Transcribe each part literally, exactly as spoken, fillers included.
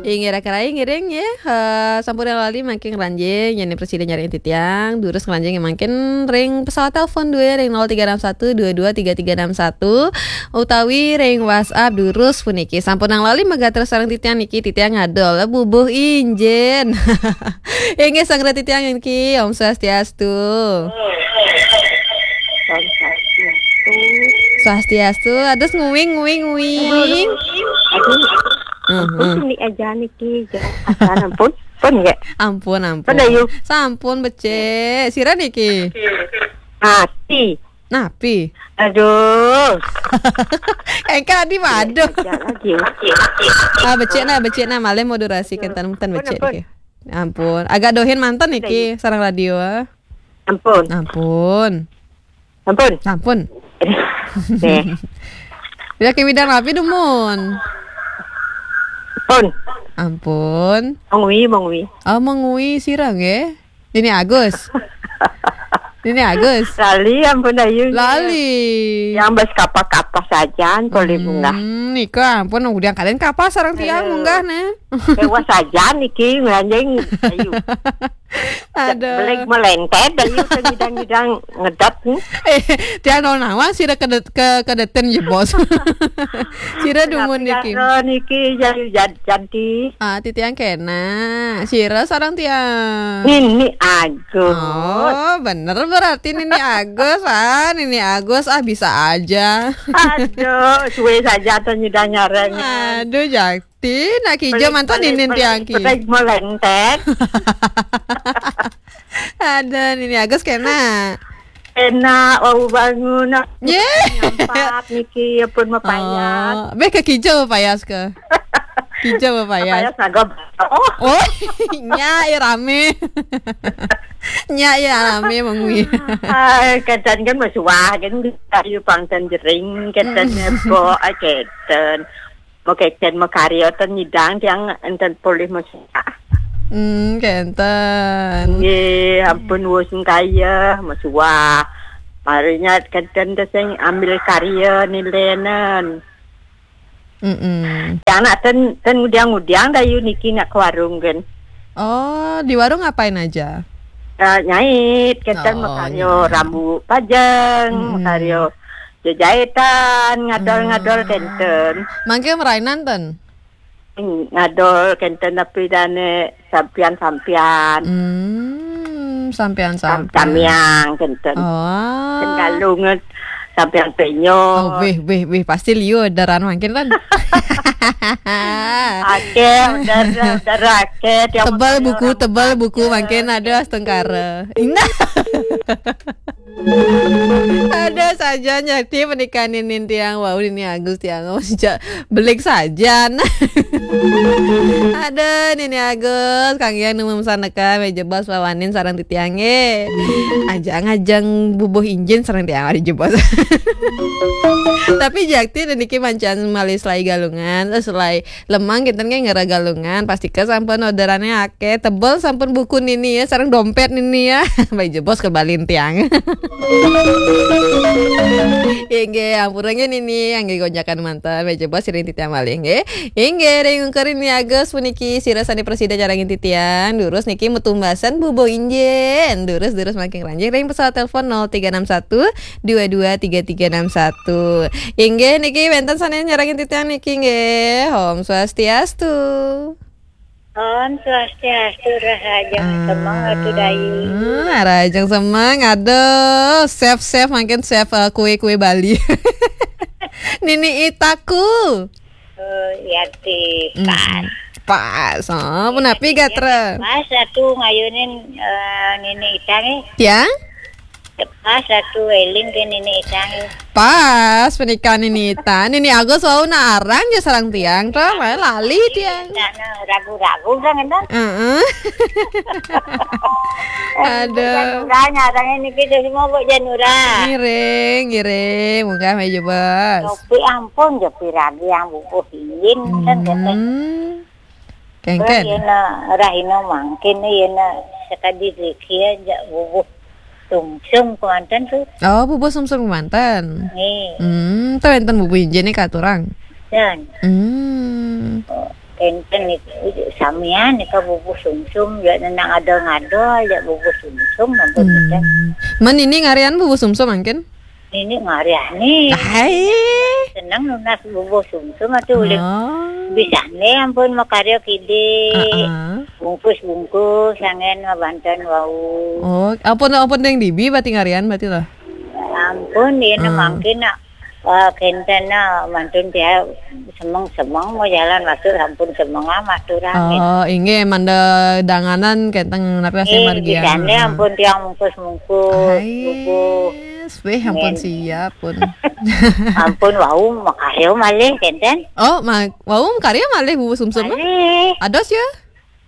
Inggih, raka rai ngiring nggih. Eh, sampun lali mangkin ngranjing, yén presida nyarengin titiang, durus ngranjing mangkin ring pesawat telepon dua ring nol tiga enam satu dua dua tiga tiga enam satu, utawi ring WhatsApp durus puniki. Sampun lali magatra sareng titiang niki, titiang ngadol bubuh injin. Inggih, sanggra titiang niki, Om Swastiastu. Om Swastiastu. Swastiastu, ados nguing, nguing, nguing. Aduh, Heeh. Ampun, ini aja niki, jangan ampun. Pun nggih. Ampun, ampun. Pun, Ayu. Sampun becik. Sira niki? Mati. Napi? Aduh. Engkak di waduh. Aja lagi. Ah, becik nah, becik nah, malih modulasi kénten, ten Pun, becik pun. Niki. Ampun, agak dohin manten niki sareng radio. Ampun. Ampun. Ampun. Ampun. Nggih. Ida ké midang napi dumun? Pun. Ampun. Mengwi, mengwi. Oh, mengwi sira nggih. Nini Agus. Nini Agus. Lali ampun Ayu. Lali. Yang bas kapah-kapah sajan polih munggah. Hmm, nika ampun udah kalian kapah sareng tiang Eh. Munggah nih. Dewa sajan niki ngranjing Ayu. Aduh. Beleg melentet Ayu ke ngidang-ngidang ngedap nih. Eh, tiang nol nawang sira kedet, ke, kedeten jebos. Sira dumun niki. Niki jadi, jadi, jadi. Ah, titiang kena. Sira sareng tiang. Nini Agus. Oh, bener berarti Nini Agus. Ah, Nini Agus ah bisa aja. Aduh, suwe saja tuh nyidang nyareng. Aduh, Jakti, nak kija mantan ninin tiang ki. Petai melentet. Ada Nini Agus kena. Enak, wau bangun. Ye. Nyampat niki ya pun mapayas. Oh, beh ke kija mapayas ke? Kija mapayas. Payas naga. Oh. Oh, nya ya rame. Nya ya rame mengwi. Ai, kadang kan masuah kan kayu pangten jering, kadang nebo, ai, kadang. Mau kecen mau karya ten nyidang tiang enten polih masuah. Hmm, kenten. Nggih, ampun wus kaya masuah. Marinya kenten te sing ambil karya nilenen. Mm-mm. Yang nak ten, ten ngudiang-ngudiang Dayu niki nak ke warung kan. Oh, di warung ngapain aja? Eh, nyait, kenten. Oh, makaryo nyait. Rambu pajeng, mm-mm. Makaryo jejahitan, ngadol-ngadol. Hmm. Kenten. Mangke merainan ten? Hmm, ngadol kenten tapi dane sampian-sampian. Hmm, sampian-sampian. Sam-, samiang kenten. Oh. Ten galungan sampian penyo. Oh, weh, weh, weh, pasti liu daran mangkin kan. Ake, udah, udah ake. Tiap tebal buku, tebal buku, mangkin ada astungkara. Indah. Ada saja nyakti pernikahan ini tiang. Wau, ini Agus tiang. Sejak belik sajan. Ada Nini Agus, Kang Yang nemu mesan neka, meja bos wawanin sarang titiang, eh. Ajang-ajang bubuh injin sarang tiang, ada jebos. Tapi jakti dan niki mancan malih selai galungan, eh, selai lemang kinten nggih ngera galungan, pastika sampun orderane akeh, tebel sampun buku nini ya, sareng dompet nini ya. Baik jebos kebalin tiang. Inggih, ampura nggih nini, nggih gonjakan manten, baik jebos siring titiang malih nggih. Inggih, ring ungkur Nini Agus puniki sira sane prasida nyarengin titiang, durus niki metumbasan bubuh injin. Durus, durus mangkin ranjing ring pesawat telepon nol tiga enam satu dua dua tiga tiga enam satu. Inggih niki wenten sane nyarengin titiang niki nggih. Om Swastiastu. Om Swastiastu, rahajeng semeng Atu Dayu. Ah, rahajeng semeng. Aduh, chef-chef mangkin chef, eh, kue-kue Bali. Nini Itaku. Oh, iya ti. Hmm. Pas. Pas. Oh, punapi gatra? Pas Atu ngayunin, eh, Nini Ita nih. Tiang? Pas Atu eling ke Nini Ita nih. Pas pernikahan Nini Ita. Nini Agus wau nak arang ja sarang tiang, to, malah lali tiang. Ita nah ragu-ragu kan, kan? Heeh. Aduh. Janura, nyarang ini kita semua buat Janura. Ngiring, ngiring. Munggah meja bos. Jopi ampun, jopi ragi yang bubuh injin, kan, kata. Hmm. Kengken. Yena rahina mangkin, yena sakadi dikir ja bubuh sumsum kemanten tu. Oh, bubuh sumsum kemanten. Nggih. Hmm, tu enten bubuh injin ni katurang. Dan. Hmm. Oh, Kan niku samian nika bubuh sumsum, ya nenang ada ngada ya bubuh sumsum ampun nika. Hmm. Man ini ngarian bubuh sumsum mangkin? Ini ngarian nih. Hai. Seneng nunas bubuh sumsum atuh ulih. Oh. Bisane ampun makarya kidi. Heeh. Bungkus-bungkus angen ngabanten wau. Oh, ampun, ampun deng dibi berarti ngarian berarti lah. Ampun, dia hmm. Mangkin nak. Ah, kenten na mantun dia semeng-semeng mau jalan masuk ampun semeng amat orang. Oh, inggih manda danganan kenten napi asih eh, margian. Di sana ampun tiang mungkus-mungkus. Hai, bubuh. Weh, ampun siap pun. Ampun wau makarya malih kenten. Oh, ma wau makarya malih bubuh sumsum. Malih. Ados ya?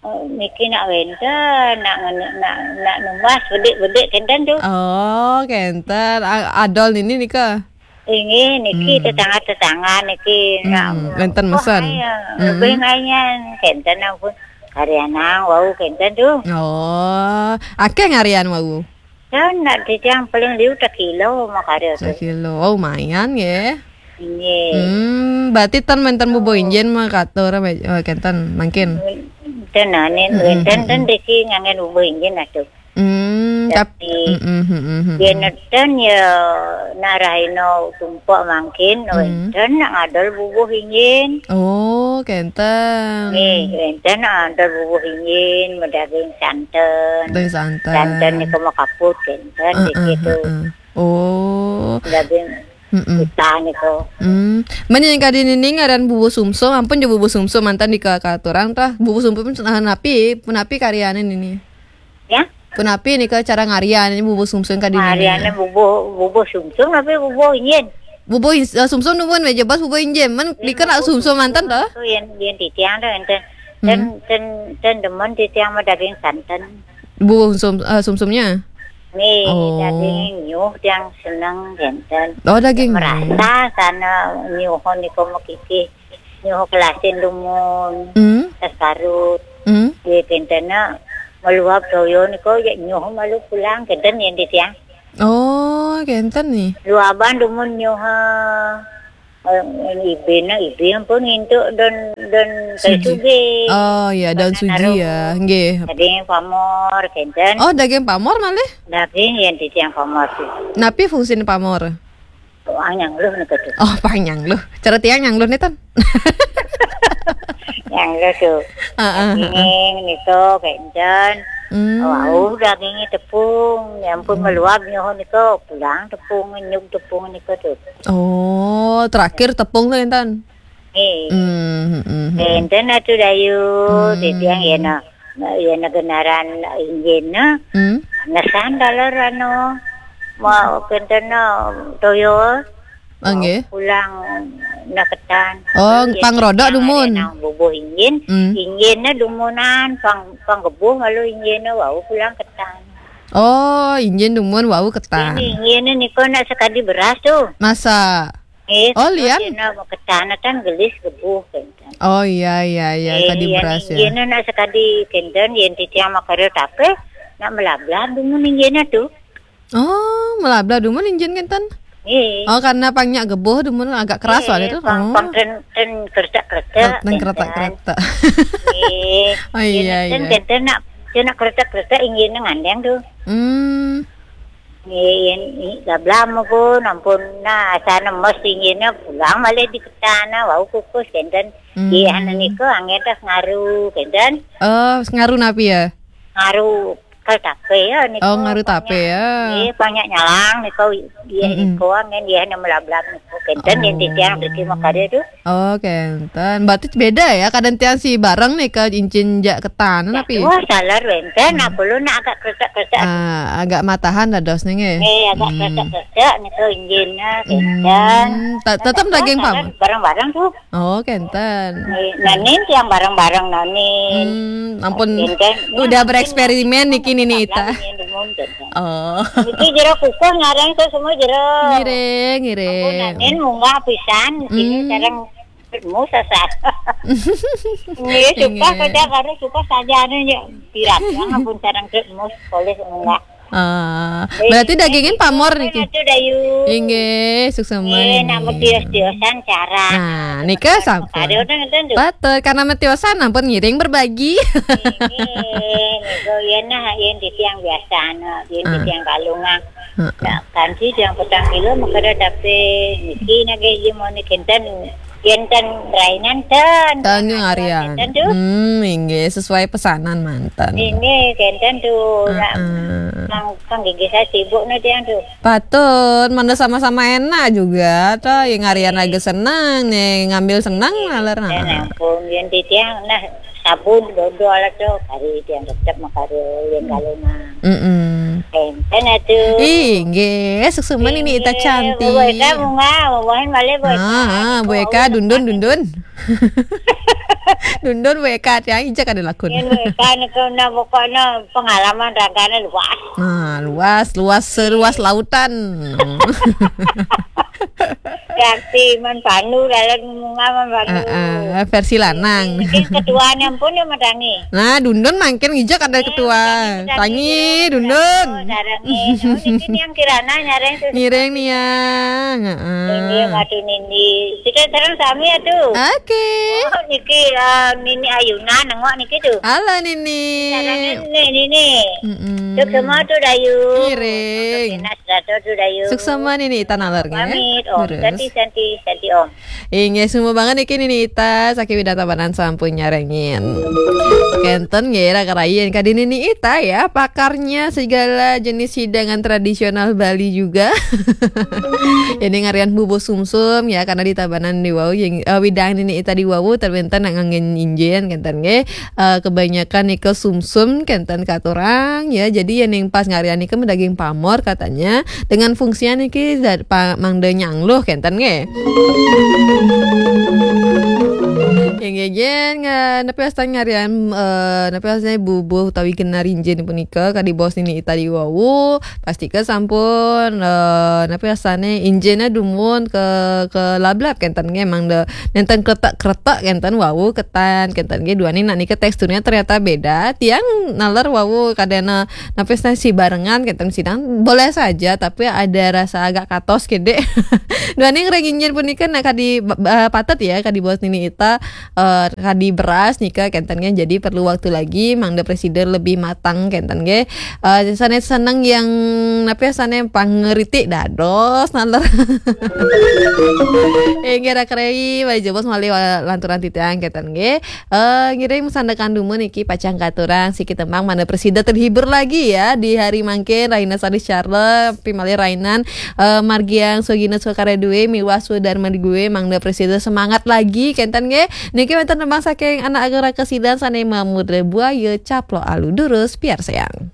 Oh, niki nak wenten, nak ngene- nak nak numbas bedik-bedik kenten tu. Oh, kenten. A- adol nini nika. Inggih niki hmm. Tetangga-tetangga niki hmm. Nak wenten mesen. Ayo, hmm. Lebih ngayan kenten ampun. Karyanang wau kenten tu. Oh, akeh ngarian wau. Kan nak titiang paling liu tak kilo makarya tu. Sakilo. Oh, lumayan ya. Inggih. Hmm, berarti tan menten bubuh injin mah katur eh, kenten mangkin. Ten anin hmm, wenten hmm, ten hmm. Diki ngangen bubuh injin atuh. Hmm, tapi tapi hmm, hmm, hmm, hmm, dia hmm. Neten ya nak rahina tumpak mangkin hmm. Wenten nak ngadol bubuh injin. Oh, kenten. Nih, wenten nak ngadol bubuh injin, medaging santen. Daging santen. Santen ni kema kaput kenten uh, dikit uh, tu. Uh, uh. Oh. Daging mm-mm. Kita ni ko. Hmm. Mani yang kadi nini ngaran bubuh sumsum, ampun je bubuh sumsum mantan di kakak orang tah. Bubuh sumsum nah, napi, punapi karyane nini. Ya? Punapi ni ke cara ngarian ini bubuh sumsum kadi nini. Ngarian bubuh bubuh sumsum tapi bubuh injin. Bubuh uh, sumsum numun meja bas bubuh injin. Man dikena sumsum mantan dah. Tu yang yang titiang dah enten. Ten hmm. Ten ten demen titiang mah daging santan. Bubuh sum, uh, sumsumnya. Nih, oh. Daging nyuh yang seneng enten. Oh, daging. Merasa sana nyuh niko mekiki. Nyuh kelasin dumun. Hmm. Sasarut. Hmm. Di pentena meluap toyo niko ya nyuh malu pulang kenten yang di tiang. Oh, kenten nih. Luaban dumun nyuh. Eh, ibina ibi ampun ngintuk don don kayu sugi. Oh ya, daun suji ya. Nggih. Daging pamor kenten. Oh, daging pamor malih? Daging yang titiang pamor sih. Napi fungsin pamor? Pang nyangluh nika tu. Oh, pang nyangluh. Cara tiang nyangluh ni tan. Nyangluh tu. Heeh. Daging niko kenten. Hmm. Wau dagingnya tepung, ya ampun hmm. Meluap nyoho niko pulang tepung nyuk tepung niko tu. Oh, terakhir tepung tu intan. Eh. Hmm, hmm, hmm. Enten atu dayu hmm. Titiang ya na ya na genaran injin na. Hmm. Nesan dalar anu ma kenten na toyo. Nggih. Pulang na ketan. Oh, pang roda dumun. Nang bubuh injin, hmm. Injin na dumunan pang pang gebuh malu injin na wau pulang ketan. Oh, injin dumun wau ketan. Injin na niko nak sekadi beras tu. Masa? Eh, oh, lian? Dina mau ketan kan gelis gebuh kan. Oh iya iya iya eh, kadi beras ya. Injin na sekadi kenten yang titiang makarya tape nak melablah dumun injin tu. Oh, melablah dumun injin kenten. Eh. Oh, karena pangnya gebuh dumun agak keras eh, itu. Pang, oh. Pang ten ten kereta kereta. Oh, ten kereta kereta. Eh. Oh iya iya. Ten ten nak ten nak kereta kereta injin ngandeng tu. Hmm. Nggih, yen gablam pun ampun nah asana mes inggihna pulang malih diketana wau kukus kenten. Hmm. Nggih, anu niku anggen tas ngaru kenten. Oh, ngaru napi ya? Ngaru kal tape ya niku. Oh, ngaru tape ya. Nggih, banyak nyalang niku nggih niku anggen nggih anu melablab niku kenten yen titiang driki makarya tu. Oh, kenten. Berarti beda ya, kadang tiang si bareng nih ke incin jak ketan napi? Wah, salah wenten, nah kulo nak agak kresek-kresek. Ah, agak matahan dados nih nggih. Eh, agak kresek-kresek niku injinnya kenten. Hmm, tetap daging pamor. Bareng-bareng tu. Oh, kenten. Eh, nah, nin tiang bareng-bareng nah, nin. Hmm, ampun. Kenten. Udah bereksperimen niki nini ita. Oh. Niki jero kukuh ngarang tu semua jero. Ngiring, ngiring. Ampun, nah, nin munggah pisan, sini sekarang Mus asal. Nggih, suka saja karo suka saja anu ya. Pirat yang ampun sareng mus polis munggah. Ah, berarti dagingin pamor niki. Atuh, Dayu. Inggih, suksma. Eh, nak metios-tiosan cara. Nah, nika sampun. Mekare ngeten, Dayu. Patut, karena metiosan ampun ngiring berbagi. Inggih, niku yen nah, yen titiang biasa, anu, yen titiang kalungan. Heeh. Ya, kanthi titiang petang kilo, mekare tapi niki nggih, yen mau niki enten, yen ten rainan ten. Ten ngaryan. Enten, Dayu. Hmm, inggih, sesuai pesanan manten. Ini kenten, Dayu. Nak, heeh. Mang, mang gigi saya sibuk nih, Dayu, Dayu. Patut, mana sama-sama enak juga, toh, yang ngarian lagi senang, nih, ngambil senang, nalar, nah. Ya ampun, yen titiang, nah, sabun, dodol, toh, kari titiang tetep mekare, yen kalungan. Mm-mm. Enten atuh. Ih, nggih, suksma niki Ita cantik. Wah, kamu nggak, wahin balik, Bu Eka. Ah, ah, Bu Eka, dundun, dundun. Dundun, Bu Eka, tiang ijak ada lakun. Yen Bu Eka niku, nah, pokoknya pengalaman ragane luas. Nah, luas, luas, seluas lautan. Reaksi man panu, dalam munga man panu. Heeh, versi lanang. Mungkin ketuanya pun yang medangi. Nah, dundun mangkin ngijak ada ketua. Tangi, dundun. Oh, darangi. Oh, niki yang kirana nyareng tuh. Ngiring niang. Heeh. Nindi, madu Nindi. Kita sekarang sami ya tuh. Oke. Oh, niki, eh, Nini Ayuna nengok niki tuh. Halo, Nini. Caranya nih, Nini. Mm-mm. Tuh semua tuh, Dayu. Ngiring. Tuh, Dayu. Suksma, Nini Ita nalar, nggih. Pamit, Om. Terus. Santi, Santi, Santi, Om. Inggih, suksma banget niki Nini Ita, saking Widang Tabanan sampun nyarengin. Kenten nggih, raka rayi kadi Nini Ita ya, pakarnya segala jenis hidangan tradisional Bali juga. Ini ngarian bubuh sumsum ya, karena di Tabanan di wau, yang, eh, widang Nini Ita di wau, terbentan nak nganggen injen, kenten nggih. Eh, kebanyakan nika sumsum kenten katurang ya. Jadi yen ning pas ngarian nika daging pamor katanya, dengan fungsinya niki zat pa-, mangda nyangluh kenten nggih. Nggih, nggih, nggih, napi wastan ngarian, eh, napi wastan bubuh utawi genar injen punika kadi bos Nini Ita di wau, pastika sampun, eh, napi wastane injene dumun ke, ke lablab kenten nggih, mangda nenten kretek-kretek kenten wau ketan kenten nggih, duaning nak nika teksturnya ternyata beda. Tiang nalar wau kadana napi si barengan kenten sidang boleh saja, tapi ada rasa agak katos kede. Duaning ring injen punika nak kadi ba-, ba-, patut ya, kadi bos Nini Ita, eh, kadi beras nika kenten nggih, jadi perlu waktu lagi mangda presiden lebih matang kenten nggih. Eh, sane seneng yang napi sane pangeritik dados nalar. Eh, kira-kira malih jebos malih wa-, lanturan titiang kenten nggih. Eh, ngiring masandekan dumun niki pacang katurang siki tembang mangda presida terhibur lagi ya di hari mangkin, rahina Sari Charles, pimalih rahinan, eh, Margiang Sugino Sukaradue, miwah Sudarma Due, mangda presida semangat lagi kenten nggih. Niki wenten tembang saking anak agung Raka Sidaon sane mamurda Buaya Caplok Alu, durus piarsayang.